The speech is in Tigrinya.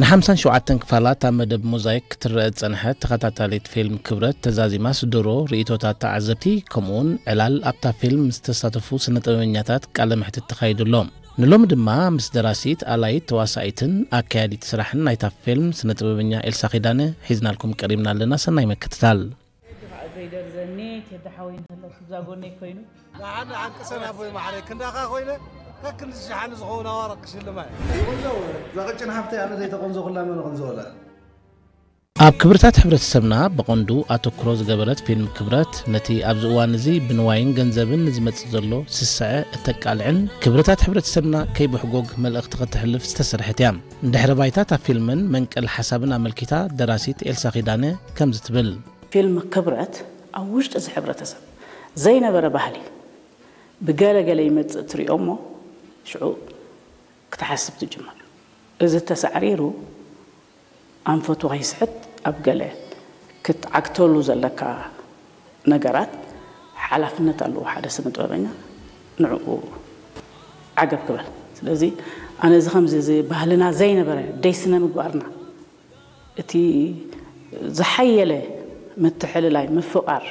ንሓምሳን ሸውዓተን ክፋላት ኣብ መደብ ሞዛይክ ክትረአ ዝጸንሐት ተኸታታሊት ፊልም ክብረት ተዛዚማስ ድሮ ርእይቶታት ተዓዘብቲ ከምኡውን ዕላል ኣብታ ፊልም ምስ ተሳተፉ ስነ ጥበበኛታት ቃለ መሕትት ተኻይዱ ኣሎ። ንሎሚ ድማ ምስ ደራሲት ኣላይት ተዋሳኢትን ኣካያዲት ስራሕን ናይታ ፊልም ስነ ጥበበኛ ኤልሳ ኪዳነ ሒዝናልኩም ቀሪብና ኣለና። ሰናይ ምክትታል። ዘይደርዘኒ ቴዲ ሓወይ እንተሎ እዛ ጎነይ ኮይኑ ንዓኒ ዓንቅሰን ኣቦይ ማዕረይ ክንዳኻ ኮይነ ከክንዲ ሸሓኒ ዝኸውን ኣዋርቕ ክሽልማ እየ። ቆንጆ እዛ ቀጭን ሓፍተይ ኣነ ዘይተቆንዘኹላ መን ቐንዘወላ። ኣብ ክብርታት ሕብረተሰብና ብቐንዱ ኣተኩሮ ዝገበረት ፊልም ክብረት ነቲ ኣብዚ እዋን እዚ ብንዋይን ገንዘብን ንዝመጽእ ዘሎ ስስዐ እተቃልዕን ክብርታት ሕብረተሰብና ከይብሕጎግ መልእኽቲ ከተሕልፍ ዝተሰርሐት እያ። ንድሕረ ባይታ እታ ፊልምን መንቀል ሓሳብን ኣመልኪታ ደራሲት ኤልሳ ኪዳነ ከምዚ ትብል። ፊልም ክብረት ኣብ ውሽጢ እዚ ሕብረተሰብ ዘይነበረ ባህሊ ብገለ ገለ ይመፅእ ትሪኦ እሞ ሽዑ ክትሓስብ ትጅምር። እዚ ተሳዕሪሩ ኣንፈቱ ከይስሕት ኣብ ገለ ክትዓግተሉ ዘለካ ነገራት ሓላፍነት ኣለዎ ሓደ ስነ ጥበበኛ ንዕኡ ዓገብ ክበል። ስለዚ ኣነ እዚ ከምዚ እዚ ባህልና ዘይነበረ ደይ ስነ ምግባርና እቲ ዝሓየለ ምትሕልላይ ምፍቓር